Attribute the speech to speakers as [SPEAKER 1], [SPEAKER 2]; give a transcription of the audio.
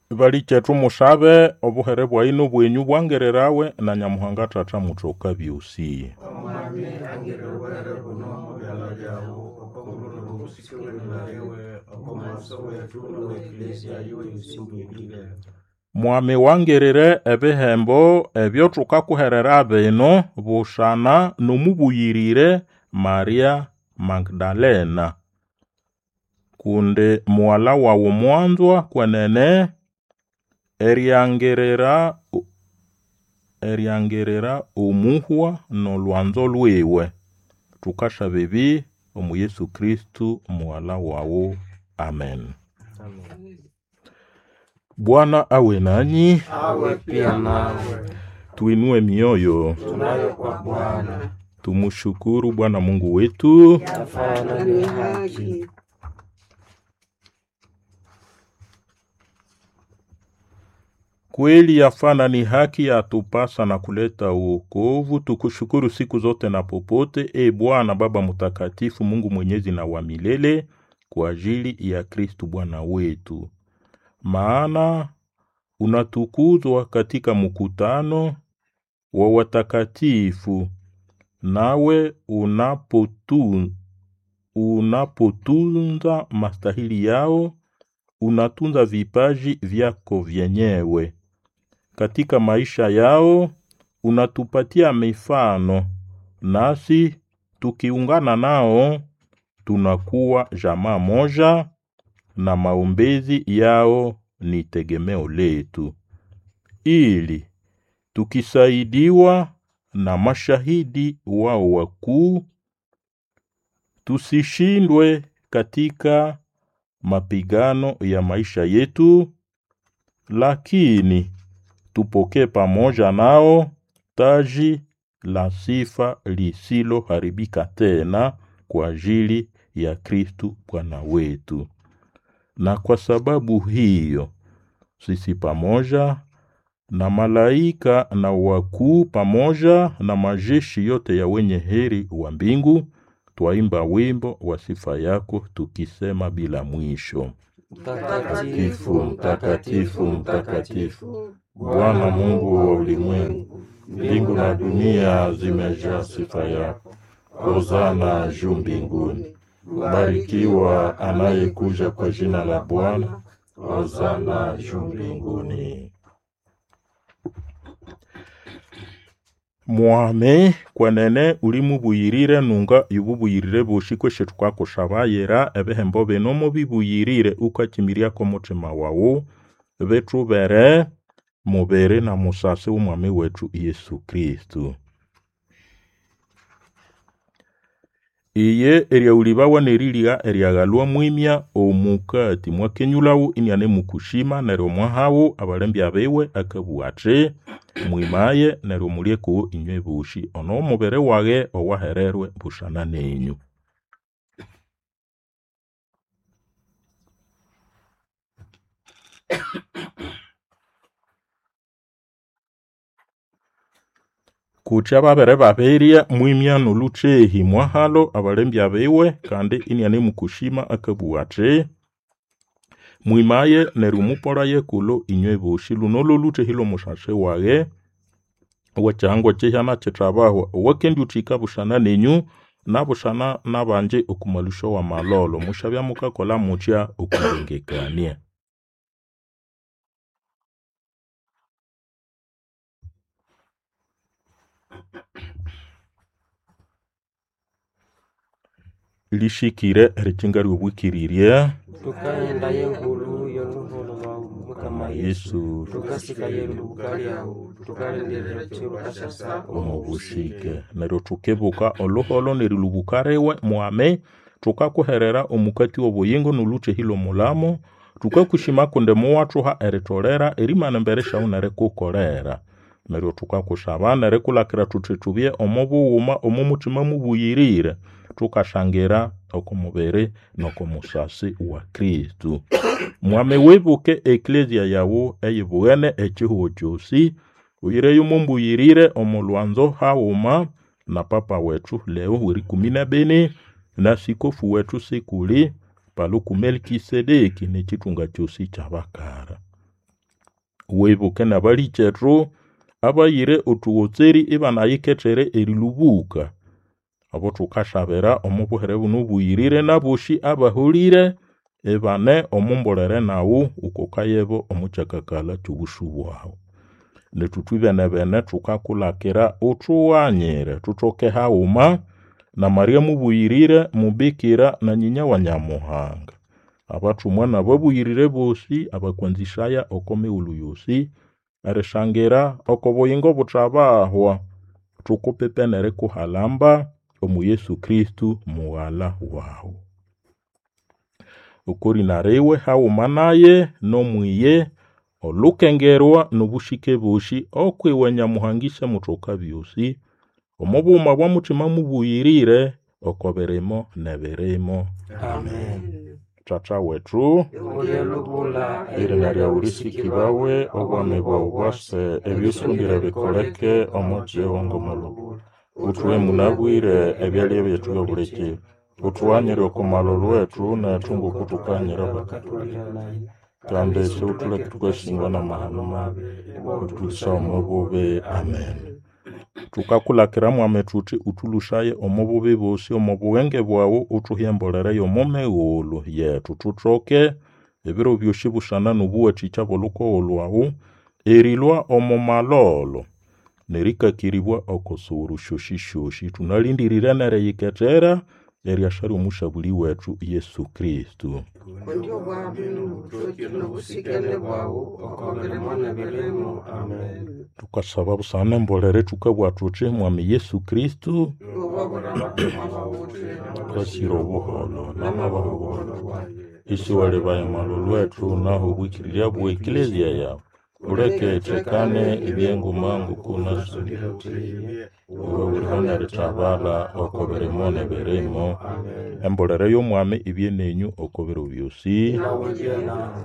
[SPEAKER 1] Balikyetu musabe obuhere bwayi n'obwenyu bwangirirawe na Nyamuhanga Tata Mutoka byosi.
[SPEAKER 2] Omwami angirire obuhere buno omo byalha byawu oko ngulu n'obusike bw'erina liwe, oko mughaso wethu n'owe Eklezia yiwe yosi mbwirire.
[SPEAKER 1] Mwami wangirire ebihembo ebyo thukakuherera bino busana n'omubuyirire Maria Magdalena, kundi mughalha wawu mwanzwa kwenene eriangirira omuhwa n'olwanzo lwiwe. Thukasaba ebi omu Yesu Kristo mughalha wawu. Amen.
[SPEAKER 2] Amen.
[SPEAKER 1] Bwana awe nanyi,
[SPEAKER 2] Awe pia nawe.
[SPEAKER 1] tuinue mioyo,
[SPEAKER 2] Tunayo kwa Bwana.
[SPEAKER 1] tumushukuru Bwana Mungu wetu.
[SPEAKER 2] Yafaa na ni haki.
[SPEAKER 1] Kweli yafana ni haki yatupasa na kuleta wokovu, tukushukuru siku zote na popote, e Bwana Baba Mtakatifu, Mungu mwenyezi na wa milele, kwa ajili ya Kristu Bwana wetu. Maana unatukuzwa katika mkutano wa watakatifu, nawe unapotunza mastahili yao, unatunza vipaji vyako vyenyewe. Katika maisha yao unatupatia mifano, nasi tukiungana nao tunakuwa jamaa moja, na maombezi yao ni tegemeo letu, ili tukisaidiwa na mashahidi wao wakuu tusishindwe katika mapigano ya maisha yetu, lakini tupokee pamoja nao taji la sifa lisiloharibika tena kwa ajili ya Kristu Bwana wetu. Na kwa sababu hiyo sisi pamoja na malaika na wakuu pamoja na majeshi yote ya wenye heri wa mbingu twaimba wimbo wa sifa yako tukisema bila mwisho:
[SPEAKER 2] Mtakatifu, mtakatifu, mtakatifu,
[SPEAKER 1] Bwana Mungu wa ulimwengu, mbingu na dunia zimejaa sifa yako. Hosana juu mbinguni. Mbarikiwa anayekuja kwa jina la Bwana. Hosana juu mbinguni. Mwame kwenene ulimubuyirire nunga yububuyirire boshi kweshe tukakushabayira ebihembo bino mubibuyirire ukakimiryako mutima wawu bitubere mubiri na musasi w'omwami wetu Yesu Kristu. Iye eryawulibawa n'erilya eryaghalwa mwimya omukati mwakenyulhawu inianemukushima neryo mwahawu abalembya biwe akabugha athi, mwimaye neryo mulye kuwo inywe boshi, ono mubiri waghe owahererwe busana nenyu. Kutya babere babirya mwimya n'olhuthehi mwahalo abalembya biwe kandi inianemukushima akabugha athi, mwimaye neryo mupolaye kulho inywe boshi, luno lholhuthehi lh'omusasi waghe ow'ekyihangwa kyihyana kithabahwa owakendiwuthika busana nenyu nabusana n'abangi oku malusyo w'amalholo. Musyabya mukakolha mutya okwilengekania. Lishikire erikinga ly'obwikirirya
[SPEAKER 2] Tukaghenda y'engulu y'oluholo lwawu Mukama Yesu,
[SPEAKER 1] Yesu
[SPEAKER 2] tukasikaye erilubuka lyawu, tukalindirira ekiro kasyasa
[SPEAKER 1] omu bushike neryo thukibuka oluholo n'erilubuka riwe mwame thukakuherera omukati w'obuyingo n'olhuthehi lw'omulamo thukakushima kundi muwathuha eritholera erimana embere syawu nerikukolera neryo thukakusaba nerikulakira thuthi thubye omo bughuma omo muthima mubuyirire thukashangira oko mubiri n'oko musasi wa Kristo. Mwame wibuke eklezia yawu eyibughene ekihugho kyosi uyireyo mumbuyirire omo lwanzo haghuma na papa wethu Leo w'erikumi n'ebini na sikofu wethu Sikuli Paluku Melkisedeki n'ekithunga kyosi ky'abakara. Wibuke n'abalikyetu abayire othugotseri ibanayikethere erilhubuka, abo thukasabira omo buhere buno obuyirire n'abosi abaholire ibane omo mbolere naghu wukokayebo omo kyakakalha ky'obusu bwaghu. Nethu ithwibene-bene thukakulakira uthughanyire thuthoke haghuma na Maria mubuyirire mubikira na nyinya wa Nyamuhanga, abathumwa n'ababuyirire bosi abakwanzisaya oko mighulhu yosi, erisangira oko buyingo obuthabahwa, thukupipe n'erikuhalamba omo Yesu Kristo mughalha waghu. Oko rina riwe haghuma naye n'omwiye olukengerwa n'obusike bosi okwiwe Nyamuhanga Ise Muthoka byosi, omo bughuma bwa Mutima Mubuyirire, oko birimo n'ebirimo.
[SPEAKER 2] Amen.
[SPEAKER 1] Tata wethu
[SPEAKER 2] Ulye lubula
[SPEAKER 1] erina lyawu lisikibawe, obwami bwawu bwase, ebyusondire bikoleke omo kihugho ng'omulhuba. Uthuhe munabwire ebyalya byethu by'obulikiro. Uthughanyire oko malholo wethu nethu ng'okuthukanyira
[SPEAKER 2] abakatulihanaye
[SPEAKER 1] kandi isiwuthuleke thukasingwa n'amahano mabi, uthulhusaye omo bubi. Amen. Thukakulakira mwami thuthi uthulhusaye omo bubi bosi, omo bughenge bwaghu uthuhe embolere y'omo mighulhu yethu thuthoke ebiro byosi busana n'obuwathikya bw'olhukogo lhwawu, erilhwa omo malholo n'erikakiribwa oko sighuru syosisyosi. Thunalindirire n'eriyikethera eryasa ly'omusabuli wethu Yesu Kristo.
[SPEAKER 3] Kundi obwami n'obuthoki n'obusikene bwawu oko birimo n'ebirimo. Amen.
[SPEAKER 1] Thukasaba busana n'embolere thukabugha thuthi mwami Yesu Kristo
[SPEAKER 3] Iwe wabura abatumwa bawu uthi,
[SPEAKER 1] twasire obuholho n'amabaha obuholho isiwalebaya amalholo ethu naho obwikirirya bwe eklezia yawu uleke ithekane ebyenguma ng'okunasondire iwe uliho n'erithabala oko birimo n'ebirimo.
[SPEAKER 2] Amen.
[SPEAKER 1] Embolere y'omwami ibye nenyu oko biro byosi.
[SPEAKER 2] Nawe bye nawe.